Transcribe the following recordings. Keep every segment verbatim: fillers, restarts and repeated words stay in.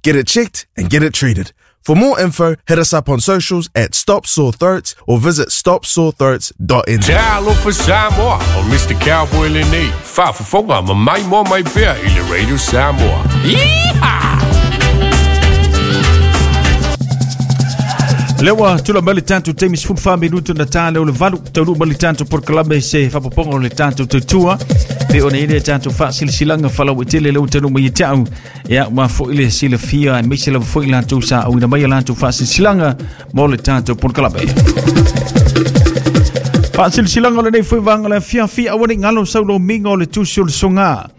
Get it checked and get it treated. For more info, hit us up on socials at Stop Sore Throats or visit stop sore throats dot n z. Talofa Samoa o Mister Cowboy lenei faafofoga ma mai moa mai pea i le Radio Samoa. Yeehaw! Lewa tula mali tantu taimi sefulu fa minutu na tale o le valu taunuu mai le tatou polokalame se faapopoga o le tatou tautua pe ona i le tatou faasilasilaga falauaitele lea ua taunuu mai ia te au ia ua fo'i le silafia aemaise lava fo'i latou sa auina mai a latou faasilasilaga mo le tatou polokalame. Faasilasilaga o lenei foi vaega o le afiafi aua nei galo saulomiga o le tusi o le soga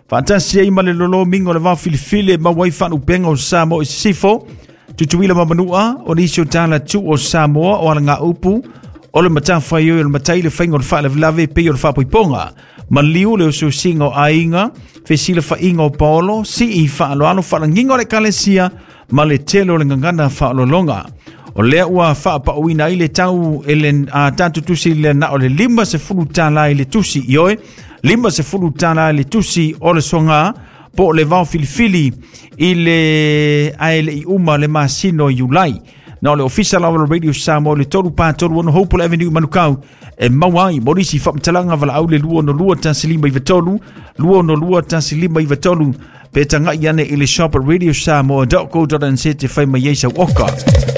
faatasi ai ma le lolomiga o le vaofilifili e maua ai faalupega o Samoa i sisifo Tutuila ma Manua, o nisi o tala tu o Samoa o alaga upu, o le matafaioi o le matai le faiga o le faalavelave pei o le faapoipoga. Maliu le ususiga o aiga, fesilafaiga o paolo, sii faaloalo faalagiga o le ekalesia, ma le tele o le gagana faaolologa. O lea ua faapauina ai le tau e le a tatou tusi le na o le lima sefulu tala i le tusi ioe, lima sefulu tala i le tusi o le soga, po o le vaofilifili i le ae le i uma le masino Iulai. Na o le ofisa lava o le Radio Samoa le tolu pa tolu ono Hopewell Avenue i Manukau e maua ai mo nisi faamatalaga valaau le lua ono lua tasi lima iva tolu, lua ono lua tasi lima iva tolu pe tagai ane i le shop at radio samoa dot co dot n z te fai mai ai sau oka.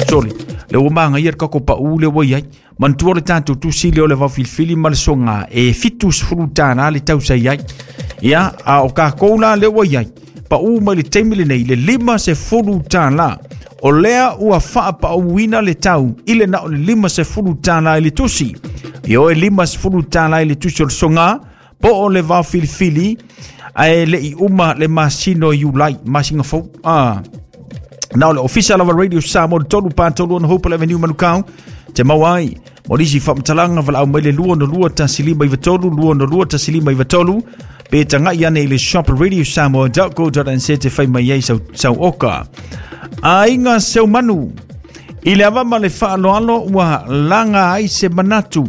Sorry, le ua magaia le kako pau le ua iai. Manatua le tatou tusi lea o le vaofilifili ma le soga e fitu sefulu tālā le tausai ai. Ia, a o kākou la le ua iai. Pau mai le taimi lenei le lima sefulu tālā. O lea ua faapauina le tau i le na o le lima sefulu tālā i le tusi. Ioe lima sefulu tālā i le tusi o le soga, po o le vaofilifili ae le i uma le masino Iulai, masina fou. Ah. Na o le ofisa lava Radio Samoa le tolu pa tolu ono Hopewell Avenue Manukau te maua ai mo nisi faamatalaga valaau mai le lua ono lua tasi lima iva tolu, lua ono lua tasi lima iva tolu pe tagai ane i le shop radio samoa dot co dot n z te fai mai ai sau, sau oka. Aiga Seumanu i le ava ma le faaloalo ua laga ai se manatu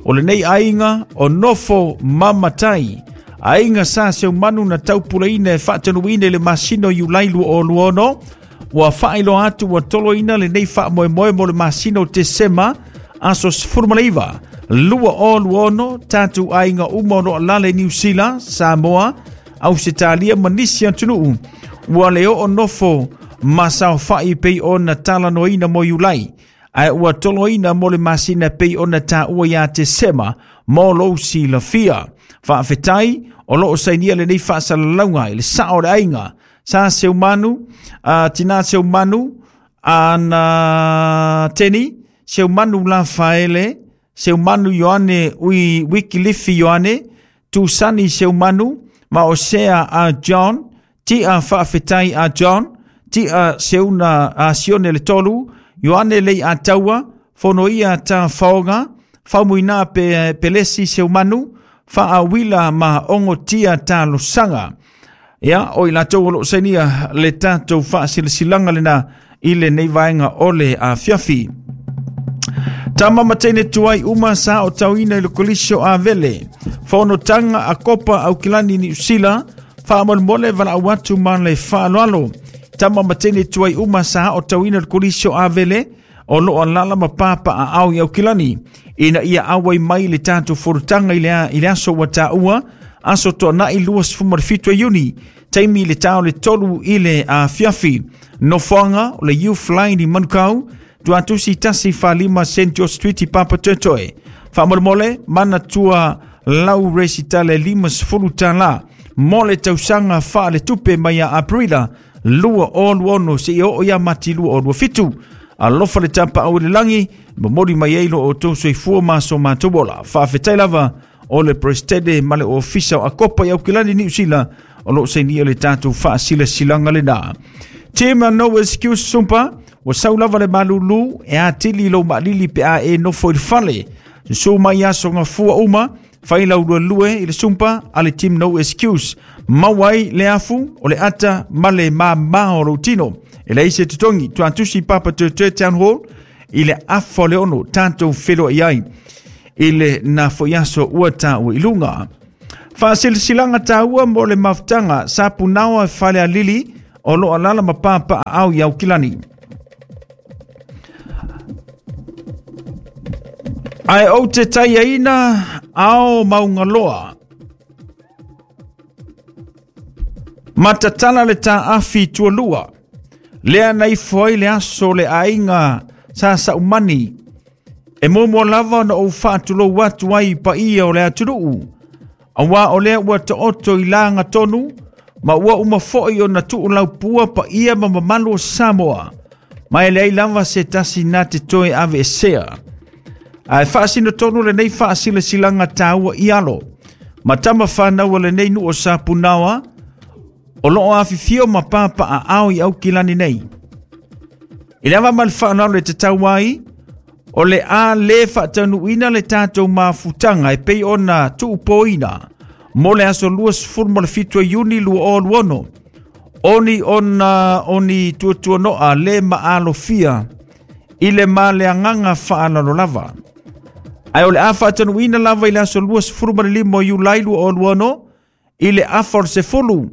o lenei aiga o nofo mamatai. Aiga sa Seumanu na taupulaina e faatanuina i le masino Iulai lua o lua ono ua faailoa atu ua toloina lenei faamoemoe mo le masino Tesema aso sefulu ma le iva lua o lua ono tatou aiga uma o loo alala i Niu Sila, Samoa, Ausetalia ma nisi atunuu ua le oo nofo ma saofa'i pei ona talanoaina mo Iulai ae ua toloina mo le masina pei ona taua iā Tesema mo lou silafia. Faafetai o loo sainia lenei faasalalauga i le sao o le aiga sa Seumanu, uh, tina Seumanu, ana Teni, Seumanu Lafaele, Seumanu Ioane ui Wikilifi Ioane, Tusani Seumanu, Maosea a John, Tia Faafetai a John, Tia Seuna a Sione le Tolu, Ioane Lei a Taua, Fonoia ta Faoga, Faumuina pe, Pelesi Seumanu, Faawila ma Ongotia ta Losaga. Ia, o i latou o loo sainia le tatou faasilasilaga lena i lenei vaega o le afiafi. Tama ma teine tuai uma sa o tauina i le kolisio a vele. Fonotaga a Kopa Aukilani Niu Sila, faamolemole valaau atu ma le faaaloalo. Tama ma teine tuai uma sa o tauina i le kolisio a vele, o loo alala ma papa a au i Aukilani. Ina ia auai mai le tatou fonotaga i le, i le aso ua taua, aso toanai lua sefulu ma le fitu e Iuni, taimi le tao le tolu i le afiafi. Nofoaga o le Youth Line i Manukau, tuatusi tasi faalima Saint George Street i Papatoetoe. Faamolemole, manatua lau resitale lima sefulu tālā mo le tausaga faaletupe mai ia Aperila lua o lua ono seia oo ia Mati lua o lua fitu. Alofa le tapaau i le lagi, momoli mai ai lo outou soifua ma so matou ola. Faafetai lava o le presidente ma le ofisa o Akopa i Aukilani Niu Sila o loo sainia le tatou faasilasilaga lena. Team No Excuse Sumpa, ua sau lava le malulu e atili lou maalili pe a e nofo i le fale. Susu mai aso gafua uma, fai lau luelue i le sumpa a le Team No Excuse. Maua ai le afu o le ata ma le mamā o lou tino. E leai se totogi, tuatusi Papatoetoe Town Hall i le afa o le ono tatou feloai ai i le na foi aso ua taua i luga. Faasilasilaga taua mo le mafutaga sa punaoa e falealili o loo alala ma papaaao i Aukilani. Ae ou te taiaina ao maungaloa. Matatala le taafi tualua. Lea na ifo ai le aso le aiga sa saumani. E momo lava na ou faatulou atu ai paia o le atunuu. Aua o lea ua taoto i laga tonu, ma ua uma foi ona tuulaupua paia ma mamalu o Samoa. Ma e leai lava se tasi na te toe ave esea. Ae faasino tonu lenei faasilasilaga taua i alo. Ma tama whanau lenei nuu o Sapunaoa, o loo afifio ma papaaao i Aukilani nei. I le ava ma le whaanalo le te tau ai, o le a le faataunuuina le tatou mafutaga e pei ona tuupoina mo le aso lua sefulu ma le fitu o Iuni lua o luono, oni ona oni tuatuanoa le maalofia i le maleagaga faalalo lava. Ae o le a faataunuuina lava i le aso lua sefulu ma le lima o Iulai lua o luono i le afa o le sefulu,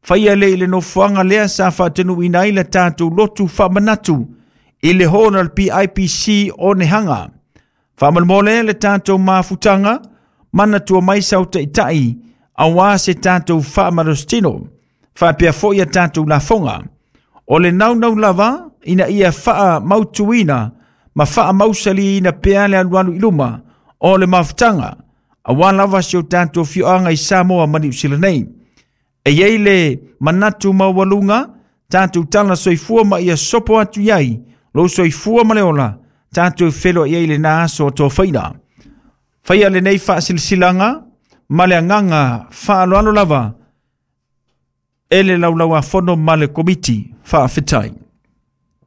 faia le i le nofoaga lea sa faataunuuina ai le tatou lotu faamanatu i le hona le P I P C o Nehanga. Faamolemole le tatou mafutaga, manatua mai sau taitai, aua se tatou faamalositino, faapea foi a tatou lafoga. O le naunau lava, ina ia faamautuina ma faamausaliina pea le alualu i luma o le mafutaga, aua lava si o tatou fioaga i Samoa ma Niu Sila nei. E iai le manatu maualuga, tatou tala soifua ma ia sopo atu iai, lou soifua ma le ola, tatou felo i ai le na aso o tofaina. Faia lenei faasilasilaga ma le agaga faaaloalo lava e le laulauafono ma le komiti faafetai.